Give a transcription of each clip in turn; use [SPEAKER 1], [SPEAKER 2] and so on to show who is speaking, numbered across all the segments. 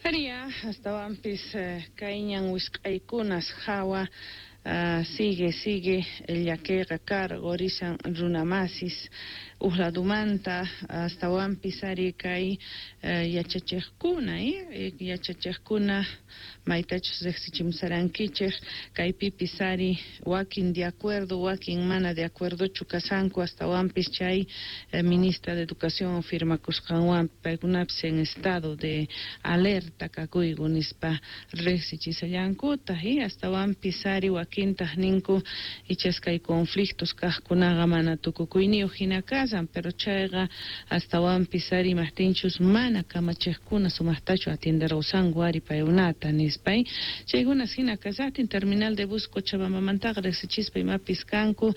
[SPEAKER 1] Aria, astawanpis kay ñan wisq'aykunas hawa sigue llakiyqa karqurisan runamasis uq ladumanta astawanpis ari kay yachachiqkuna yachachiqkuna maytachus riqsichimusarankichik kaypipis ari wakin de acuerdo wakin mana de acuerdochu kasanku astawanpis chay ministra de Educación firmakusqanwan paykunapis en estado de alerta kakuyku nispa riqsichisallankuta y astawanpis ari wakintaq ninku ichas kay conflictos kaqkunaqa mana tukukuyniyuq hina kasan pero chayqa astawanpis ari imaqtinchus mana kamachiqkuna sumaqtachu atienderqusanku ari paykunata nispay chaykunas hina kasaqtin terminal de bus Cochabambamantaqa riqsichispa imapis kanku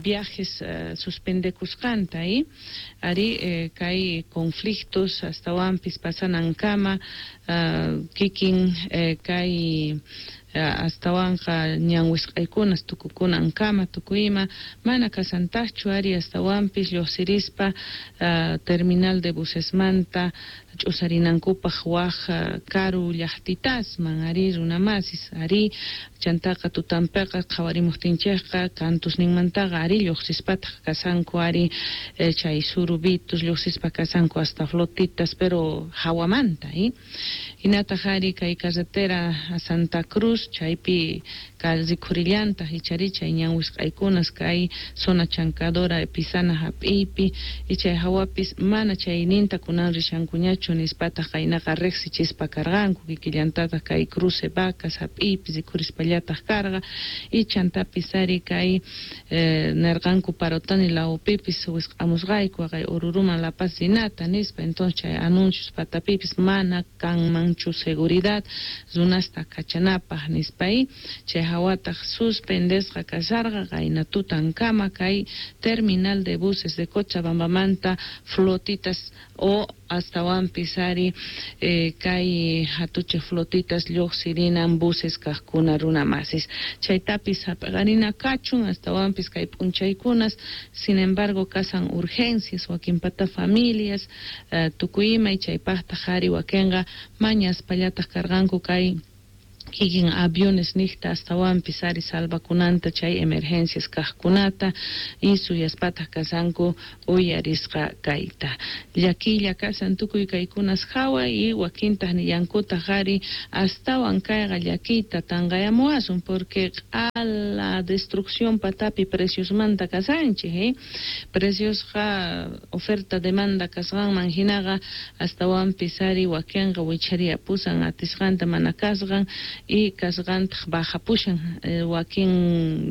[SPEAKER 1] viajes suspendekusqanta ari kay conflictos astawanpis pasanankama kikin kay astawanqa ñan wisq'aykunas tukukunankama tukuyma mana kasantaqchu ari astawanpis lluqsirispa terminal de busesmanta ch'usarinankupaq waq karu llaqtitasman ari runamasis ari chantaqa tutanpiqa qhawarimuqtinchikqa kantusninmantaqa ari lluqsispataq kasanku ari chay surubitos lluqsispa kasanku hasta flotitas pero hawamanta hinataq ari kay carretera a Santa Cruz chaypi rikhurillantaq ichari chay ñan wisq'aykunas kay zona chancadora Epizana hap'iypi y chay hawapis mana chayninta kunan rishankuñachu nispataq qaynaqa riqsichispa karqanku kikillantataq kay cruce Vacas hap'iypi rikhurispallataq karqa y chantapis ari kay nerqanku Parotani lawpipis wisq'amusqayku kay Oruruman La Paz rinata nispa entonces chay anuncios patapipis mana kanmanchu seguridad runasta kachanapaq nispay chay hawataq suspendesqa kasharqa qayna tutankama kay terminal de buses de Cochabambamanta flotitas o astawanpis ari kay hatuchik flotitas lluqsirinan buses kaqkuna runamasis chaytapis hap'iqarina kachun astawanpis kay p'unchaykunas sin embargo kasan urgencias wakinpata familias tukuy imay chaypaqtaq ari wakinqa mañaspallataq karqanku kay kikin aviones niqta astawanpis ari salvakunanta chay emergencias kaqkunata y suyaspataq kasanku uyarisqa kayta llakilla kasan tukuy kaykunas hawa y wakintaq nillankutaq ari astawan kayqa llakiyta tanqayamuwasun porque q'ala destrucción patapi preciosmanta kasanchik preciosqa oferta demanda kasqanman hinaqa astawanpis ari wakinqa wichariyapusan atisqanta mana kasqan y kasqantaq bajapushan wakin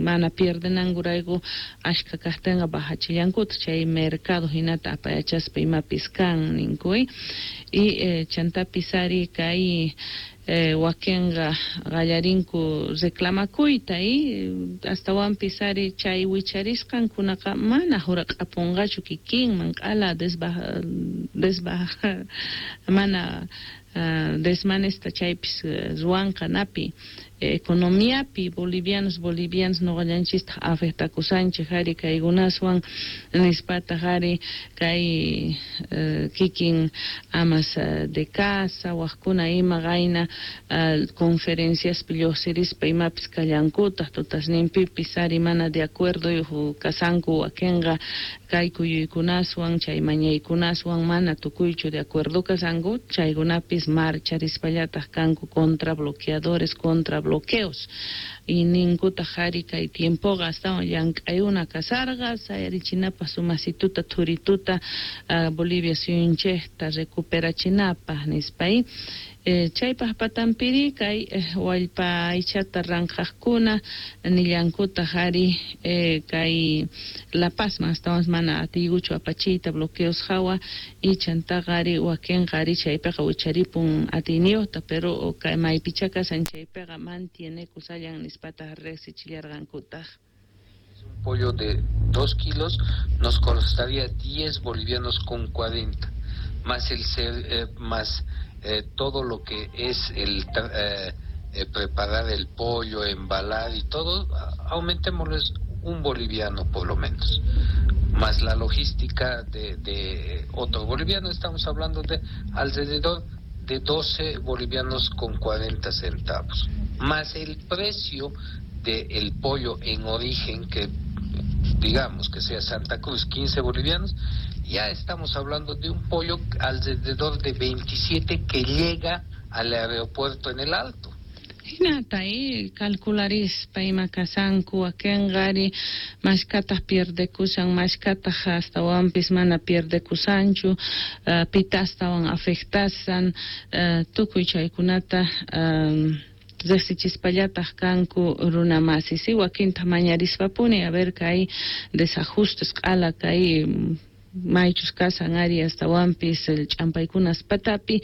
[SPEAKER 1] mana pierdenankurayku ashka kaqtinqa bajachillankutaq chay mercado hinata apayachaspa imapis kan ninku y chantapis ari kay wakinqa qallarinku reclamakuyta y astawanpis ari chay wicharisqankunaqa mana huraq'apunqachu kikinman q'ala desbaja mana desmanesta chaypis ruwanqa napi economiapi bolivianos bolivianos nuqallanchistaq afectakusanchik ari kaykunaswan nispataq ari kay kikin amas de casa waqkuna ima qayna conferenciaspi lluqsirispa imapis kallankutaq tutasninpipis ari mana de acuerdo kasanku wakinqa kay kuyuykunaswan chay mañaykunaswan mana tukuychu de acuerdo kasanku chaykunapis marcharispallataq kanku contra bloqueadores contra bloqueos y ninkutaq ari kay tiempoqa astawan llank'ayuna kasarqa sayarichinapaq sumasituta thurituta Bolivia suyunchikta recuperachinapaq nispay chaypaq patanpiri kay wallpa aychata ranqaqkuna nillankutaq ari kay La Pazman astawan mana atiykuchu apachiyta bloqueos hawa y chantaqa ari wakinqa ari chaypiqa wicharipun atiyniyuqta pero kay maypicha kasan chaypiqa mantienekusallan nispataq riqsichillarqankutaq.
[SPEAKER 2] Un pollo de 2 kilos nos costaría 10 bolivianos con 40, más el más todo lo que es el preparar el pollo, embalar y todo, aumentémosles un boliviano por lo menos, más la logística de otro boliviano, estamos hablando de alrededor de 12 bolivianos con 40 centavos, más el precio del pollo en origen, que digamos que sea Santa Cruz, 15 bolivianos, ya estamos hablando de un pollo alrededor de 27 que llega al aeropuerto en El Alto.
[SPEAKER 1] Hinata calcularispa ima kasanku wakinqari mashkataq pierdekusan, mashkataq astawanpis mana pierdekusanchu, pita astawan afectasan, tukuy chaykunata riqsichispallataq kanku runa masi, si wakinta mañarispapuni a ver kay desajustes q'ala kay maychus kasan ari astawanpis ch'ampaykunas patapi,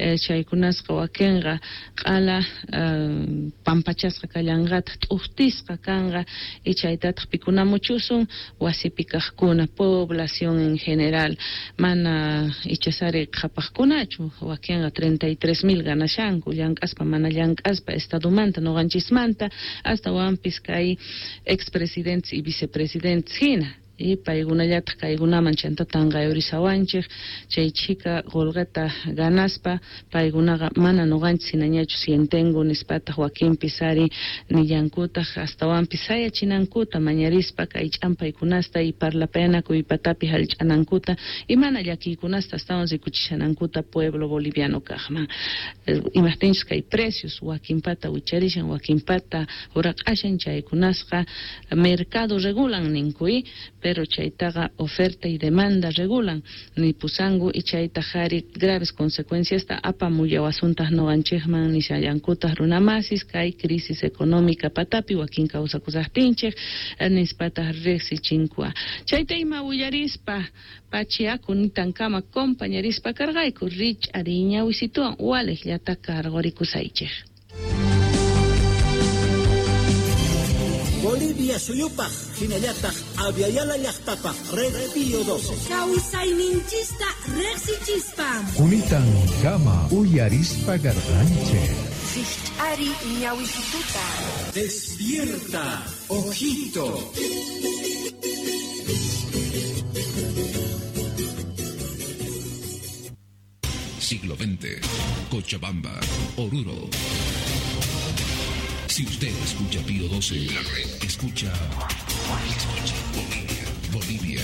[SPEAKER 1] chaykunasqa wakinqa q'ala pampachasqa kallanqataq t'uqtisqa kanqa y chaytataq pikunamuchusun wasipi kaqkuna población en general mana ichasari qhapaqkunachu wakinqa 33,000 ganashanku llank'aspa mana llank'aspa estadomanta noqanchismanta astawanpis kay expresidentes y vicepresidentes hina y paykunallataq kaykunaman chanta tanqayurisawanchik chay chhika qullqita ganaspa paykunaqa mana nuqanchis hinañachu sientenku nispataq wakinpis ari nillankutaq astawanpis sayachinankuta mañarispa kay ch'ampaykunasta y parlapayanakuy patapi hallch'anankuta y mana llakiykunasta astawan rikuchishanankuta pueblo boliviano kaqman imaqtinchus kay precios wakinpata wicharishan wakinpata huraq'ashan chaykunasqa mercado regulan ninkuy pero chaytaqa oferta y demanda regulan nipusanku y chaytaq ari graves consecuencias apamullawasuntaq nuqanchikman nishallankutaq runamasis kay crisis económica patapi wakin kawsakusaqtinchik nispataq riqsichinkua chayta ima willarispa pachiaku nitankama compañerispa karqayku rich'ariña wisituwan waliqllata karqurikusaychik.
[SPEAKER 3] Bolivia suyupaq hinallataq Aviala llaqtapaq Red Pío 12.
[SPEAKER 4] Kawsayninchista riqsichispa.
[SPEAKER 5] Kunitan kama uyarispa garganche.
[SPEAKER 4] Rich'ari ñawisituta.
[SPEAKER 3] Despierta, ojito.
[SPEAKER 6] Siglo XX, Cochabamba, Oruro. Si usted escucha Pío 12, la red escucha Bolivia, Bolivia.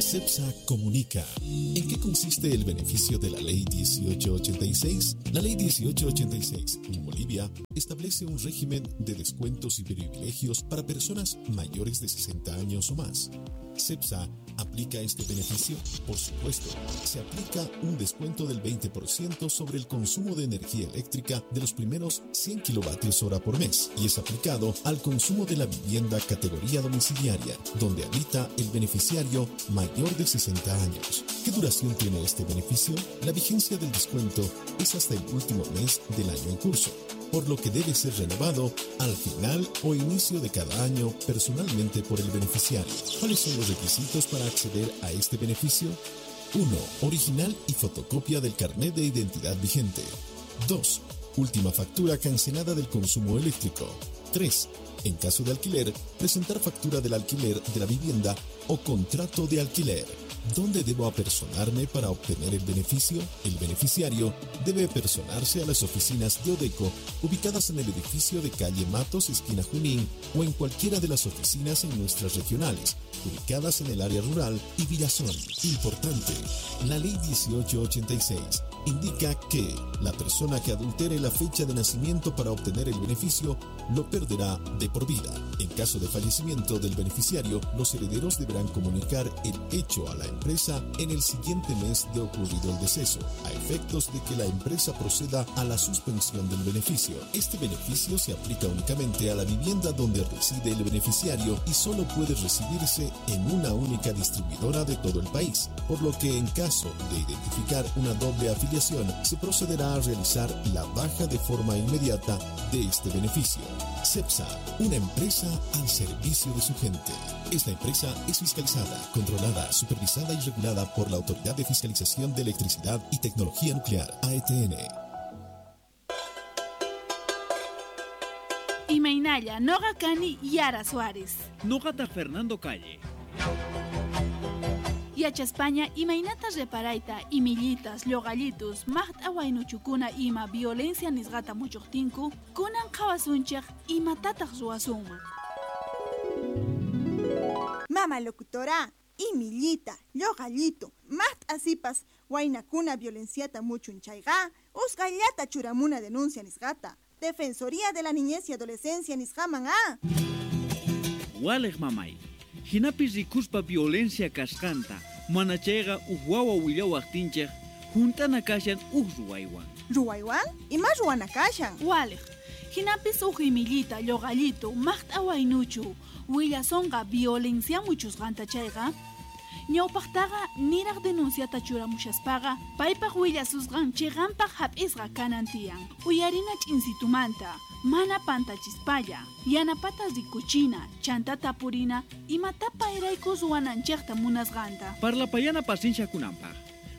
[SPEAKER 7] CEPSA comunica. ¿En qué consiste el beneficio de la Ley 1886? La Ley 1886 en Bolivia establece un régimen de descuentos y privilegios para personas mayores de 60 años o más. ¿CEPSA aplica este beneficio? Por supuesto, se aplica un descuento del 20% sobre el consumo de energía eléctrica de los primeros 100 kilovatios hora por mes y es aplicado al consumo de la vivienda categoría domiciliaria, donde habita el beneficiario mayor de 60 años. ¿Qué duración tiene este beneficio? La vigencia del descuento es hasta el último mes del año en curso, por lo que debe ser renovado al final o inicio de cada año personalmente por el beneficiario. ¿Cuáles son los requisitos para acceder a este beneficio? 1. Original y fotocopia del carnet de identidad vigente. 2. Última factura cancelada del consumo eléctrico. 3. En caso de alquiler, presentar factura del alquiler de la vivienda o contrato de alquiler. ¿Dónde debo apersonarme para obtener el beneficio? El beneficiario debe personarse a las oficinas de Odeco, ubicadas en el edificio de calle Matos, esquina Junín, o en cualquiera de las oficinas en nuestras regionales, ubicadas en el área rural y Villazón. Importante, la Ley 1886 indica que la persona que adultere la fecha de nacimiento para obtener el beneficio lo perderá de por vida. En caso de fallecimiento del beneficiario, los herederos deberán comunicar el hecho a la empresa en el siguiente mes de ocurrido el deceso, a efectos de que la empresa proceda a la suspensión del beneficio. Este beneficio se aplica únicamente a la vivienda donde reside el beneficiario y solo puede recibirse en una única distribuidora de todo el país, por lo que en caso de identificar una doble afiliación, se procederá a realizar la baja de forma inmediata de este beneficio. CEPSA, una empresa al servicio de su gente. Esta empresa es fiscalizada, controlada, supervisada y regulada por la Autoridad de Fiscalización de Electricidad y Tecnología Nuclear, AETN.
[SPEAKER 8] Imaynalla, noqa kani Yara Suárez.
[SPEAKER 9] Noqata Fernando Calle.
[SPEAKER 8] Yachaspaña imaynata reparayta imillitas, lluqallitus, maqt'a waynuchukuna ima violencia nisqata muchuqtinku, kunan qhawasunchik imatataq ruwasunman.
[SPEAKER 9] Mama locutora, imillita, lluqallito, maqt'a sipas waynakuna violenciata muchun chayqa, usqhayllata churamuna denuncia nisqata. Defensoría de la Niñez y Adolescencia nisqaman a.
[SPEAKER 10] Waliq mamay, hinapis rikuspa violencia kasqanta, mana chayqa uj wawa willawaqtinchik junt'ana kashan uj ruwaywan.
[SPEAKER 9] Ruwaywan? Ima ruwana kashan?
[SPEAKER 8] Waliq, hinapis uj imillita, lluqallito, maqt'a waynuchu, willasonqa violencia muchusqanta chayqa, ñawpaqtaqa niraq denunciata churamushaspaqa paypaq willasusqan chiqanpaq hap'isqa kanan tiyan. Uyarina ch'insitumanta, mana pantachispalla, yanapata rikuchina, chanta tapurina, imatapa payrayku ruwananchikta munasqanta.
[SPEAKER 10] Parlapayana pacienciakunanpaq,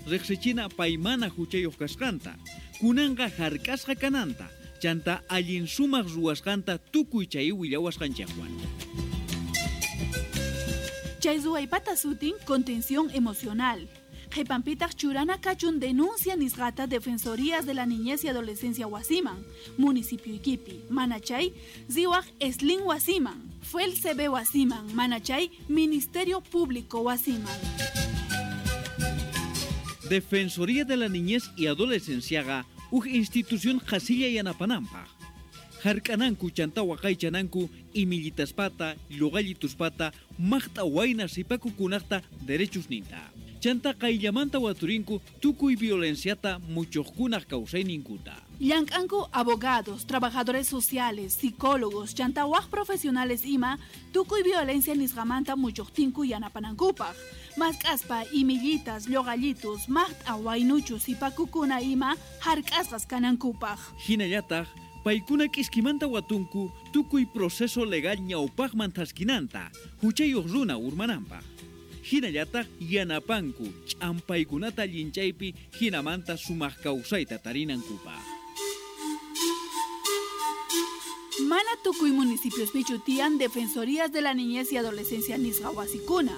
[SPEAKER 10] riqsichina paymana huchayuq kasqanta, kunanqa hark'asqa kananta, chanta allin sumaq ruwasqanta tukuy chay willawasqanchikwan.
[SPEAKER 8] Chay ruwaypata sutin contención emocional. Qhipanpitaq churana kachun denuncia nisqata Defensorías de la Niñez y Adolescencia wasiman, municipio Iquipi, manachay riwaq Eslin wasiman, FELCB wasiman, manachay Ministerio Público wasiman.
[SPEAKER 10] Defensoría de la Niñez y Adolescenciaqa uj institución qhasilla yanapananpaq. Hark'ananku chanta waqaychananku imillitaspata, lluqallituspata, maqt'a wayna sipakukunaqta derechusninta. Chanta qayllamanta waturinku tukuy violenciata muchuqkunaq kawsayninkuta.
[SPEAKER 8] Llank'anku abogados, trabajadores sociales, psicólogos, chanta waq profesionales ima tukuy violencia nisqamanta muchuqtinku yanapanankupaq. Mask'aspa imillitas, lluqallitus, maqt'a waynuchu sipakukuna ima hark'asqas kanankupaq.
[SPEAKER 10] Hinallataq paykuna k'iskimanta watunku tukuy proceso legal ñawpaqman thaskinanta, huchayuq runa urmananpaq. Hinallataq yanapanku ch'ampaykunata llinchaypi hinamanta sumaq kawsayta tarinankupaq.
[SPEAKER 8] Mana tukuy municipiospichu tiyan Defensorías de la Niñez y Adolescencia nisqa wasikuna.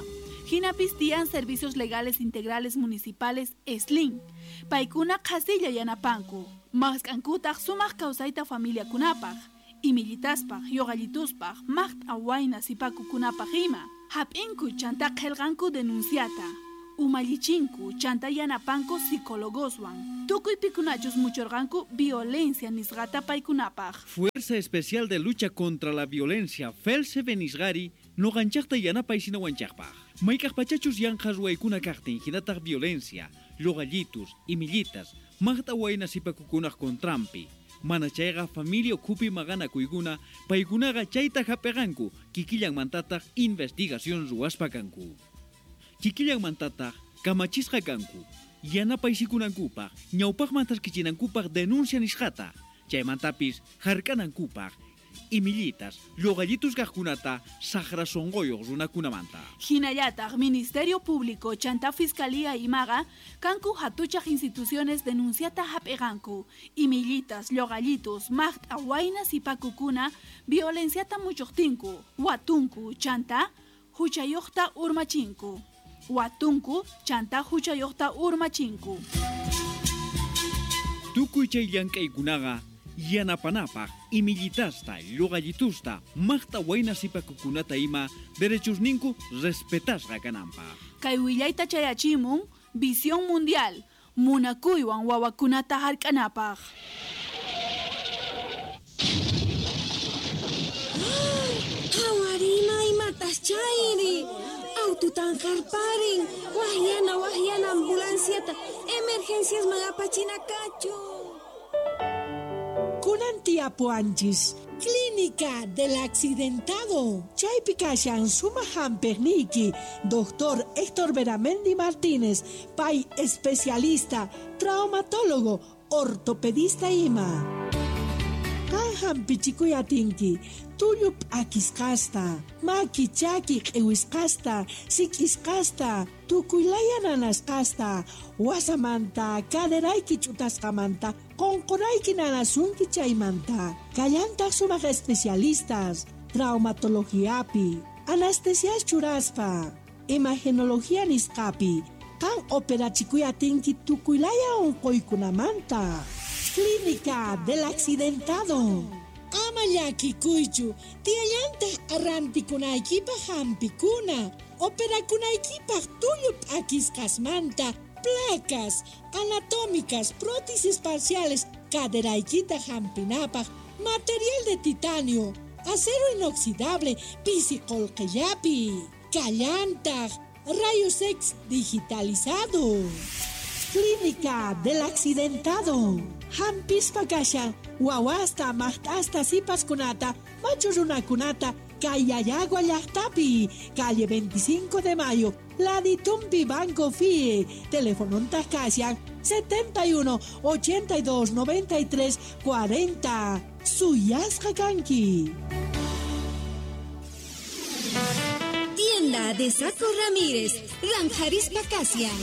[SPEAKER 8] Hinapis tiyan Servicios Legales Integrales Municipales ESLIN. Paykuna qhasilla yanapanku. Mask'ankutaq sumaq kawsayta familiakunapaq, imillitaspaq, lluqallituspaq, maqt'a wayna sipakukunapaq ima. Hap'inku chanta qillqanku denunciata. Umallichinku chanta yanapanku psicólogoswan. Tukuy pikunachus muchurqanku violencia nisqata paykunapaq.
[SPEAKER 10] Fuerza Especial de Lucha contra la Violencia, FELCB nisqari, nuqanchaqta yanapaysinawachaqpaq. Mayk'aq pachachus yanqa ruwaykuna kaqtin hinataq violencia, lluqallitus, imillitas, maqt'a wayna sipakukunaq contranpi. Mana chayqa familia ukhupi maqanakuykuna, paykunaqa chayta hap'iqanku, kikillanmantataq investigación ruwaspa kanku. Kikillanmantataq kamachisqa kanku, yanapaysikkunankupaq, ñawpaqman thaskichinankupaq denuncia nisqata, chaymantapis hark'anankupaq, imillitas, lluqallitus kaqkunata saqra sunquyuq runakunamanta.
[SPEAKER 8] Hinallataq Ministerio Público chanta Fiscalía imaqa kanku hatuchaq instituciones denunciata hap'iqanku, imillitas, lluqallitus, maqt'a wayna sipakukuna violenciata muchuqtinku, watunku chanta huchayuqta urmachinku. Watunku chanta huchayuqta urmachinku.
[SPEAKER 10] Tukuy chay llank'aykunaqa yanapanapaq imillitasta, lluqallitusta, maqt'a wayna sipakukunata ima derechusninku respetasqa kananpaq.
[SPEAKER 8] Kay willayta chayachimun Visión Mundial, munakuywan wawakunata hark'anapaq.
[SPEAKER 4] Qhawarina imatas chayri, aututan harparin, wahyana ambulanciata, emergenciasman apachina kachu.
[SPEAKER 11] Kunan tiyapuwanchis, Clínica del Accidentado. Chaypi kashan sumaq hampiqniyki, Doctor Héctor Beramendi Martínez, pay especialista, traumatólogo, ortopedista ima. Qan hampichikuy atinki, tullu p'akisqasta, maki chaki q'iwisqasta, sik'isqasta, tukuylaya nanasqasta, wasamanta, caderayki ch'utasqamanta, qunqurayki nanasunki chaymanta. Kallantaq sumaq especialistas, traumatologiapi, anestesias churaspa. imagenología nisqapi. Qan operachikuy atinki tukuylaya unquykunamanta. Clínica del Accidentado. Ama llakikuychu, tiyallantaq rantikunaykipaq hampikuna, operakunaykipaq tullu p'akisqasmanta, placas anatómicas, prótesis parciales, caderaykita hampinapaq, material de titanio, acero inoxidable, pisi qullqillapi, kallantaq, rayos X digitalizado. Clínica del Accidentado. Hampispa kashan, wawasta, maqt'asta, sipaskunata, machu runakunata, kay Llallagua llaqtapi, calle 25 de Mayo, Laditumpi Banco FIE, telefonontaq kashan 71 82 93 40. Suyasqa kanki.
[SPEAKER 4] Tienda de Saco Ramírez, Ranjarispa Kasian.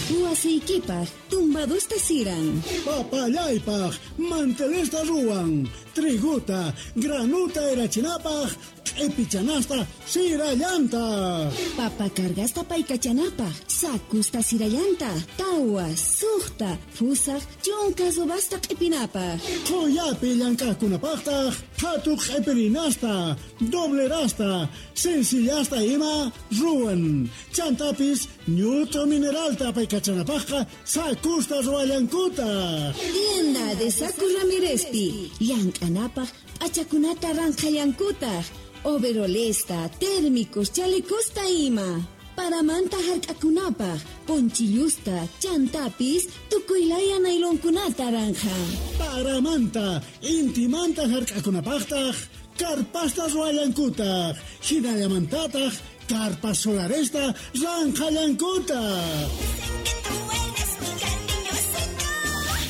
[SPEAKER 4] Wasiykipaq, tumbadusta siran.
[SPEAKER 12] Papallaypaq, mantelesta ruwan. Triguta, granuta erachinapaq, q'ipichanasta sirallanta.
[SPEAKER 4] Papa cargasta paykachanapaq, sakusta sirallanta, tawa, suqta, fusaq, chunka subasta q'ipinapaq.
[SPEAKER 12] Qhuyapi llank'aqkunapaqtaq, phatu q'ipirinasta, doblerasta, sencillasta ima ruwan. Chantapis ñut'u mineralta paykachanapaqqa sakusta ruwallankutaq.
[SPEAKER 4] Tienda de Saco Ramírezpi, llank'anapaq p'achakunata ranqhallankutaq. Overolesta, térmicos, chalecosta ima. Paramanta hark'akunapaq, ponchillusta, chantapis, tukuylaya nailonkunata ranja.
[SPEAKER 12] Paramanta, intimanta hark'akunapaqtaq, karpasta ruwallankutaq, hinallamantataq, karpas solaresta ranqhallankutaq.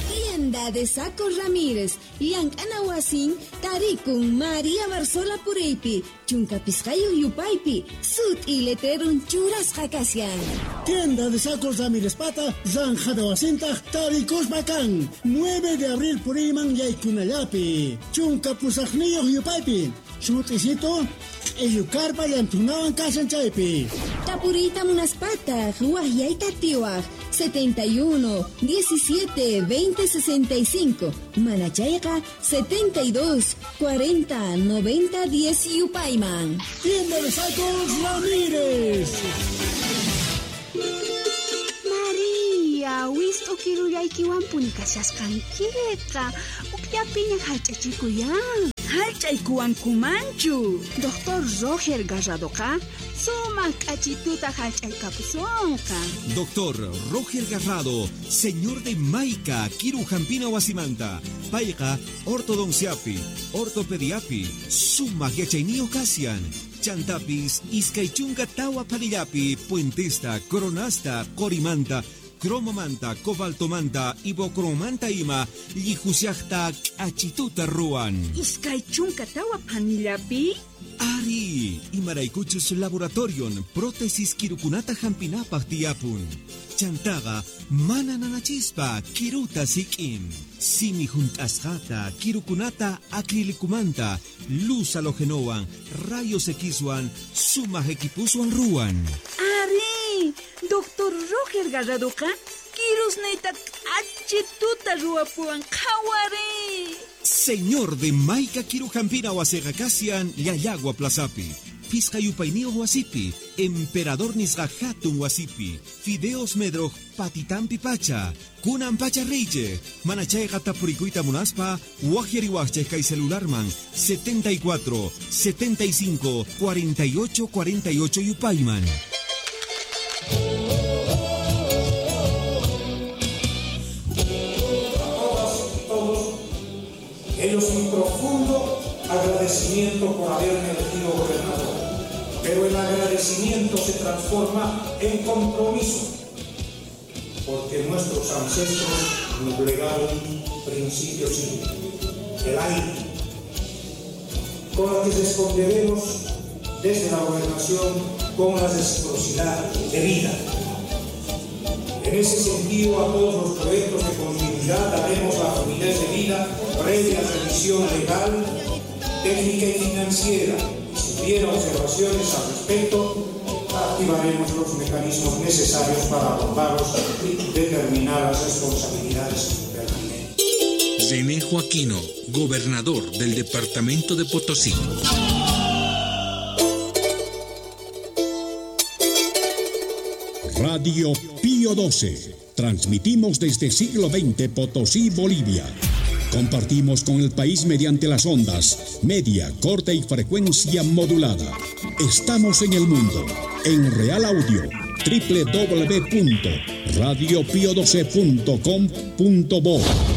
[SPEAKER 4] Tienda de Saco Ramírez, llank'ana wasin, tarikun María Barzola puriypi, chunka pisqayuq yupaypi, sut'i letrerun churasqa kashan.
[SPEAKER 12] Tienda de Sacos Ramírez pata, zanjada wasintaq tarikuspa kan, 9 de abril puriyman yaykunallapi, chunka pusaqniyuq yupaypi, sut'isito, q'illukarpa llantunawan kashan chaypi.
[SPEAKER 4] Tapuriyta munaspataq, waqyayta tiwaq, 71 17 20 65, manachayqa 72 40 90 10 yupayman.
[SPEAKER 12] Tienda de Sacos Ramírez.
[SPEAKER 13] María, wist'u kirullaykiwanpuni kashasqankiqa, ukllapiña hallch'achikuyan.
[SPEAKER 14] Hallch'aykuwankumanchu.
[SPEAKER 13] Doctor Roger Garradoqa sumaq k'achituta hallch'aykapusunqa.
[SPEAKER 7] Doctor Roger Garrado, señor de Maica, Kiru Hampina wasimanta, payqa ortodonciapi, ortopediapi, sumaq yachayniyuq kashan. Chantapis, iskay chunka tawa phanillapi, puentesta, coronasta, qorimanta, cromomanta, cobaltomanta, ibocromanta ima, llihushaqta k'achituta ruwan.
[SPEAKER 14] Iskay chunka tawa phanillapi?
[SPEAKER 7] Ari, imaraykuchus laboratorion prótesis kirukunata hampinapaq tiyapun. Chantaqa mana nanachispa kiruta sik'in. Simi hunt'asqata kirukunata acrilicumanta, luz halogenowan, rayos Xwan, sumaq equipuswan ruwan.
[SPEAKER 14] Ari, Doctor Roger Garradoqa kirusniyta k'achituta ruwapuwan qhawari.
[SPEAKER 7] Señor de Maica Kirujampina wasiqa kashan Llallagua Plazapi, Pisqa yupayniyuq wasipi, Emperador nisqa hatun wasipi, Fideos Medroj patitampi pacha, kunan pacha riychej, mana chayqa tapurikuyta munaspa, waqyariwaqchej kay celularman 74 75 48 48 yupayman.
[SPEAKER 15] Ellos mi profundo agradecimiento por haberme elegido gobernador. Pero el agradecimiento se transforma en compromiso, porque nuestros ancestros nos legaron un principio simple, el aire, con el que responderemos desde la gobernación con la reciprocidad debida. En ese sentido, a todos los proyectos de continuidad daremos la fluidez de vida previa revisión legal, técnica y financiera. Si hubiera observaciones al respecto, Activaremos los mecanismos necesarios para abordarlos y determinar las responsabilidades pertinentes.
[SPEAKER 6] René Joaquino, gobernador del departamento de Potosí.
[SPEAKER 16] Radio Pío 12. Transmitimos desde siglo XX Potosí, Bolivia. Compartimos con el país mediante las ondas, media, corta y frecuencia modulada. Estamos en el mundo, en Real Audio, www.radiopio12.com.bo.